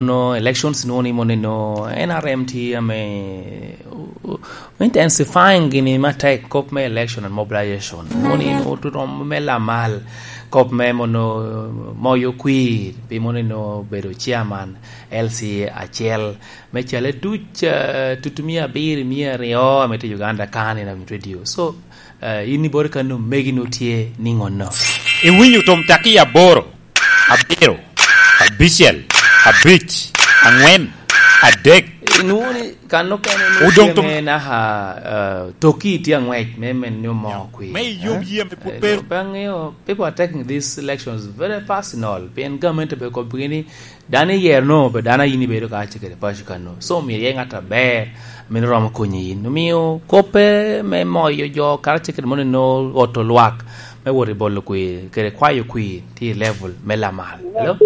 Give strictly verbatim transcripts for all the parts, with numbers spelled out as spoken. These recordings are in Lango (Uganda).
No elections nwongo ni mono eno N R M tye ame, uh, uh, intensifying gini matek kop me election and mobilization. Nwongo ni nwongo tye rom me lamal kop me mono moyo kwir pi mono eno bedo chairman L C A acel me cale duc, uh, tutu mia abiro, mia aryo ame tye Uganda kan in radio. So, uh, in ibore kano megi no tye ni ŋonno. Iwinyo tom taki aboro. Abiro, abicel, abic, aŋwen, adek. Inwoŋo ni kan okene ni Odong tye tom- me naka, uh, toki tye aŋwec me men nyo mo kwi. Me yom yie me put Eh, pe- pe aŋeo, people are taking these elections very personal. Pien gamente pe kop ni dano iyero no, pe dano a in ibedo ka ce kede paco kano. So, myero iye ŋat aber, meno romo konyi in. Omio koppe me moyo jo karacel kede mono eno oto lwak me wot i bolo kwir, kede kwayo kwir, tye i level me lamal. Hello?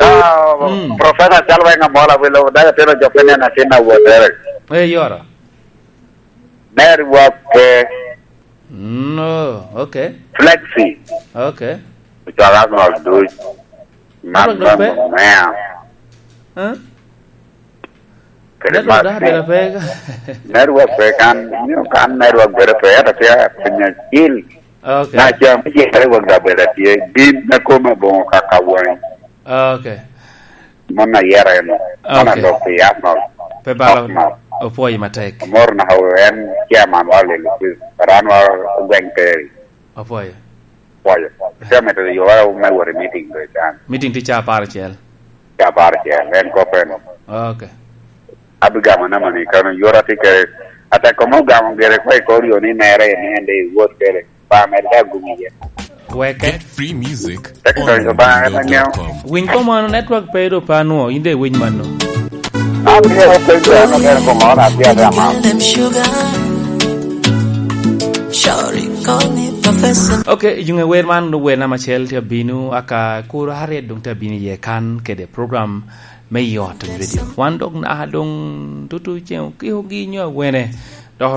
Ah, Mm. Professor Chalweng Amola, wilo daga tino jo pe neno atin a wotere. Eh, yoro. Network pe. Mm, oh, okay. Flexi. Okay. Cwaka Arnold Duc. Network dok pe? Mea. Huh? Kede Network Mark dok Lee. Abeda pe. Network pe kan, nyo kan network bedo pe, ento tye piny acil. Okay. Na cam tye network dok bedo tye. Gin me kome boŋo kaka wany. Okay. Mon ayera en. Mon Okay. Alok pi Arnold. Pe balo. Arnold. Opwoyo matek. Amor na en chairman wa lelo quiz. Ran wa gweng Terry. Opwoyo. Pwoyo. Tye mito yo wa me wot i meeting do can. Meeting tye ca apar acel. Ca apar acel. En kop en. Okay. Abigamo nama ni kano yora ti kere. Ata komo gamo gere kwa i kor yo ni mere ni en de wot kere. Pa Amerika gumi ye. Weke. Get free music Tek on donyo ba en anyiewo. Window dot com. Winy komano network pe do pa nwo, in de winy mano. Abiro pe jano ber komano abia da ma. Them sugar. Shawty call me professor. Okay, yung wer man do wer nama chel te bino aka kuro harriet dong te bino ye kan kede program me yot radio. Wan dok na dong tutu ceng kiko gi nyo awene.